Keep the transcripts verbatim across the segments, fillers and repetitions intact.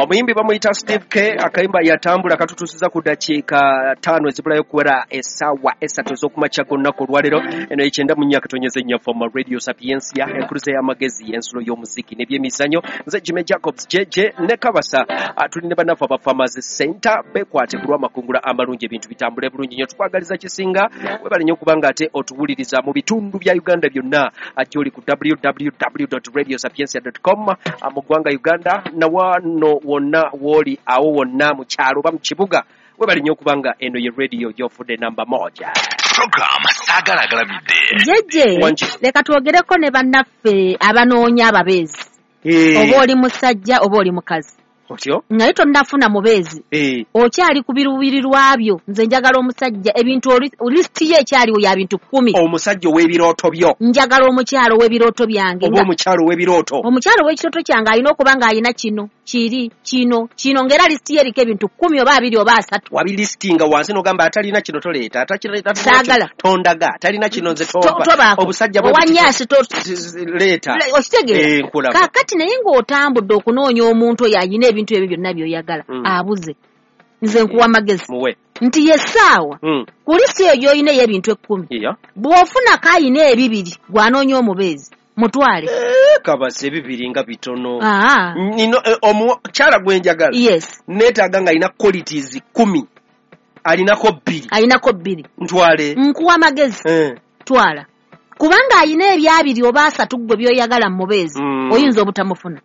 Omuyimbi bamuyita Steve K, akayimba yatambula katutuusiza ku ddakiika ttaano ezibulayo okuwera essaawa esatu ez'okumakya g'olunaku olwaleero. Eno ekyenda mu nnya katonyeze nnya Fama Radio Sapientia, enkuluze y'amagezi, ensulo y'omuziki n'ebyemizannyo. Nze Jimmy Jacobs J J ne Kabasa. Ah, tuli ne bannaffe aba Farmers Center, bekwate ku lw'amakungula amalungi, ebintu bitambule bulungi nnyo. Tukwagaliza kisinga, webale nnyo okubanga ate otuwuliriza mu bitundu bya Uganda byonna gy'oli ku W W W radio sapiencia com mu ggwanga Uganda, nawano wonna w'oli awo wonna mu kyalo oba mu kibuga. Webale nnyo okubanga eno ye radio gy'ofudde namba moja. Program Saagala Agalamidde. Jejje. Wangi. Leka twogereko ne bannaffe abanoonya ababeezi, oba oli musajja oba oli mukazi, Otyo. Naye tonnafuna mubeezi, Eh, okyali ku biruubirirwa byo. Nze njagala omusajja, ebintu oli- lisiti ye ekyaliwo ya bintu kkumi. Omusajja ow'ebirooto byo. Njagala omukyalo ow'ebirooto byange. Oba nga- omukyalo ow'ebirooto. Omukyalo ow'ekirooto kyange alina okuba ng'alina kino, kiri, kino, kino, ng'era lisiti ye eriko ebintu kkumi oba abiri oba asatu. Wabilisitinga wansi n'ogamba atalina kino toleeta, atakireta. Saagala. Tondaga atalina kino nze To- tompa. Tobaako. Obusajja bwe buti- Owanyaasi to- leeta. Okitegeera? Eh, nkulaba. Kaakati naye ng'otambudde okunoonya omuntu oyo alina ebintu ebyo byonna by'oyagala, Mm. abuze. Nze nkuwa magezi Muwe. nti yessaawa Mm. ku lisiti eyo gy'olina ey'ebintu ekkumi, Iya. bw'ofunako ayina ebibiri, gw'anoonya omubeezi mutwale. Eh, kabasa, ebibiri nga bitono. Aa. Nino eh, omukyala gwe njagala, yes neetaaga ng'alina qualities kumi, alinako bbiri. Alinako bbiri. Ntwale? Nkuwa amagezi. Eh. Twala, kubanga ayina ebyabiri oba asatu gwe by'oyagala mu mubeezi, Mm. oyinza obutamufuna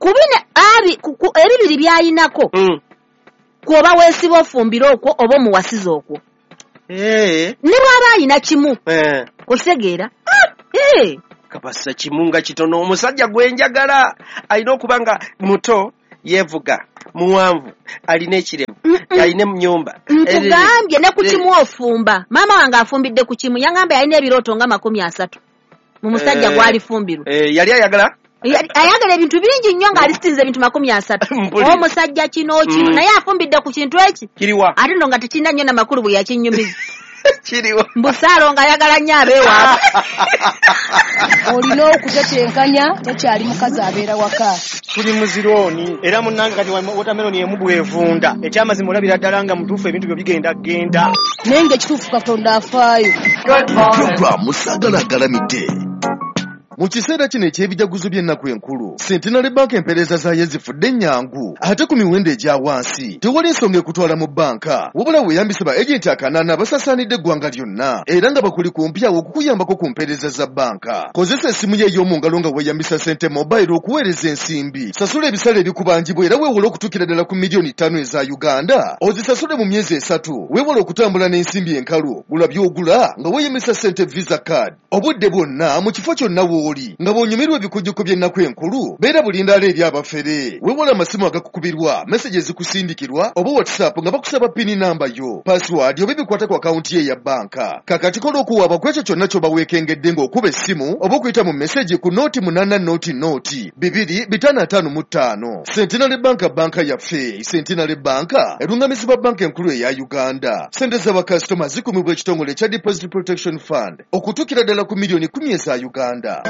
kubina abi ku- ku- ebibiri by'ayinako, Mm. kwoba weesiba ofumbire okwo oba omuwasiza okwo, Eh, ne bw'aba ayina kimu. eh. Okitegeera? Eh, Kabasa, kimu nga kitono. Omusajja gwe njagala alina okuba nga muto, yeevuga, muwanvu, alina ekirevu, alina ennyumba. Nkugambye, ne ku Eh, kimu ofumba. Maama wange afumbidde ku kimu, yaŋŋamba yalina ebirooto nga makumi asatu mu musajja Eh. gw'alifumbirwa. Eh, yali ayagala Yali- ayagala ebintu bingi nnyo, ng'alisitinze ebintu makumi asatu. Mpulira. Omusajja kino, kino, Mm. naye afumbidde ku kintu eki. Kiriwa? Ate nno nga tekirina nnyo namakulu bwe yakinyumiza. Kiriwa? Mbusaalo ng'ayagala nnyo abeewaabwe. Olina okutetenkanya, tokyali mukazi abeera waka. Tuli mu zirooni era munnange, kati watermelon emu bwevunda. Ekyamazima olabira ddala nga mutuufu ebintu byo bigenda genda. Naye ng'ekituufu Katonda afaayo. Program Saagala Agalamidde. Mu kiseera kino eky'ebijaguzo by'ennaku enkulu, Centenary Bank empeereza zaayo zifudde ennyangu ate ku miwendo egya wansi. Tewali nsonga ekutwala mu bbanka, wabula weeyambise ba agenti akanaana abasaasaanidde eggwanga lyonna era nga bakuli kumpi awo okukuyambako ku mpeereza za bbanka. Kozesa essimu yo ey'omu ngalo nga weeyambisa Sente Mobile okuweereza ensimbi, sasula ebisale ebikubanjibwa era weewole okutuukira ddala ku miliyoni ttaano eza Uganda, ozisasule mu myezi esatu. Weewale okutambula n'ensimbi enkalu. Gula by'ogula nga weeyambisa Sente Visa Card obudde bwonna, mu kifo kyonna w'oli. Nga bw'onyumirwa ebikujjuko by'ennaku enkulu, beera bulindaala eri abafere. Weewale amasimu agakukubirwa, message ezikusindikirwa oba WhatsApp nga bakusaba PIN namba yo, password oba ebikwata ku akawunti ye eya bbanka. Kakati kola okuwaaba ku ekyo kyonna ky'oba weekengedde ng'okuba essimu oba okuyita mu message ku nooti munaana nooti nooti bibiri bitaano ataano mu ttaano. Centenary Bank, banka yaffe. Centenary Bank erungamizibwa Banka Enkulu eya Uganda. Sente z'abakasitoma zikumibwa ekitongole ekya Deposit Protection Fund okutuukira ddala ku miliyoni kumi eza Uganda.